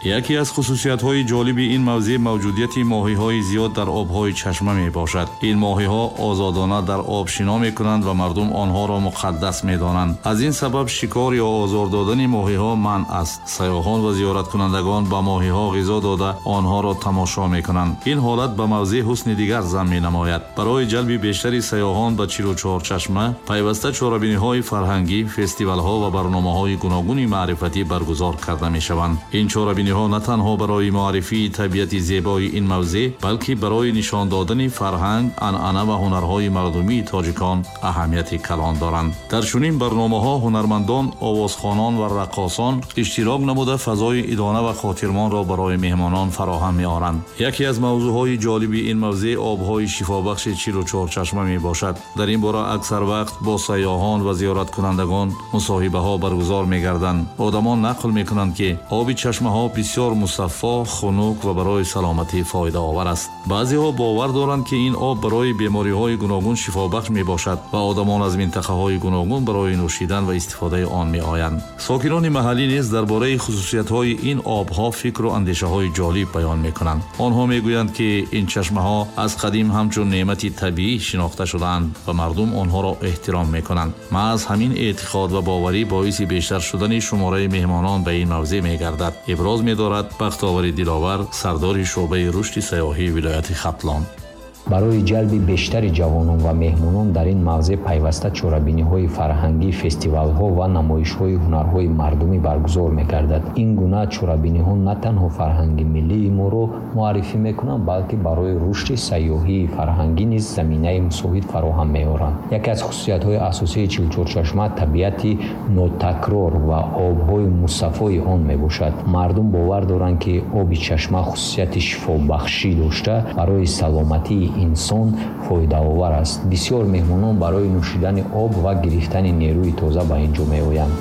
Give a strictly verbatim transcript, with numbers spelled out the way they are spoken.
Яке аз хусусиятҳои ҷолиби ин мавзеъ мавҷудияти моҳиҳои зиёд дар обҳои чашма мебошад. Ин моҳиҳо озодона дар об шино мекунанд ва мардум онҳоро муқаддас медонанд. Аз ин сабаб шикор ё озор додани моҳиҳо манъ аст. Сайёҳон ва зиёраткунандагон ба моҳиҳо ғизо дода, онҳоро тамошо мекунанд. Ин ҳолат ба мавзеъ ҳусни дигар зам менамояд. Барои ҷалби бештари сайёҳон ба чилу чор чашма пайваста чорабиниҳои фарҳангӣ, фестивалҳо ва барномаҳои гуногуни маърифатӣ баргузор карда мешаванд. Ин чорабиниҳо на танҳо барои муаррифии табиати зебои ин мавзеъ, балки барои нишон додани фарҳанг, анъана ва ҳунарҳои мардумии тоҷикон аҳамияти калон доранд. Дар чунин барномаҳо ҳунармандон, овозхонон ва раққосон иштирок намуда, фазои идона ва хотирмонро барои меҳмонон фароҳам меоранд. Яке аз мавзӯъҳои ҷолиби ин мавзеъ обҳои шифобахши чилу чор чашма мебошад. Дар ин бора аксар вақт бо сайёҳон ва зиёраткунандагон мусоҳибаҳо баргузор мегарданд. Одамон нақл мекунанд, ки оби чашмаҳо бисёр мусаффо, хунук ва барои саломатӣ фоидаовар аст. Баъзеҳо бовар доранд, ки ин об барои бемориҳои гуногун шифобахш мебошад ва одамон аз минтақаҳои гуногун барои нӯшидан ва истифодаи он меоянд. Сокинони маҳаллӣ низ дар бораи хусусиятҳои ин обҳо фикру андешаҳои ҷолиб баён мекунанд. Онҳо мегӯянд, ки ин чашмаҳо аз қадим ҳамчун неъмати табиӣ шинохта шудаанд ва мардум онҳоро эҳтиром мекунанд. Маҳз ҳамин эътиқод ва боварӣ боиси бештар шудани шумораи меҳмонон ба ин мавзеъ мегардад, иброз медорад Бахтовари Диловар, сардори шӯъбаи рушди сайёҳии вилояти Хатлон. Барои ҷалби бештари ҷавонон ва меҳмонон дар ин мавзеъ пайваста чорабиниҳои фарҳангӣ, фестивалҳо ва намоишҳои ҳунарҳои мардумӣ баргузор мегардад. Ин гуна чорабиниҳо на танҳо фарҳанги миллии моро муаррифӣ мекунанд, балки барои рушди сайёҳии фарҳангӣ низ заминаи мусоид фароҳам меоранд. Яке аз хусусиятҳои асосии Чилучорчашма табиати нотакрор ва обҳои мусаффои он мебошад. Мардум бовар доранд, ки оби чашма хусусияти шифобахшӣ дошта, барои саломатии инсон фоидаовар аст. Бисёр меҳмонон барои нӯшидани об ва гирифтани нерӯи тоза ба ин ҷо меоянд.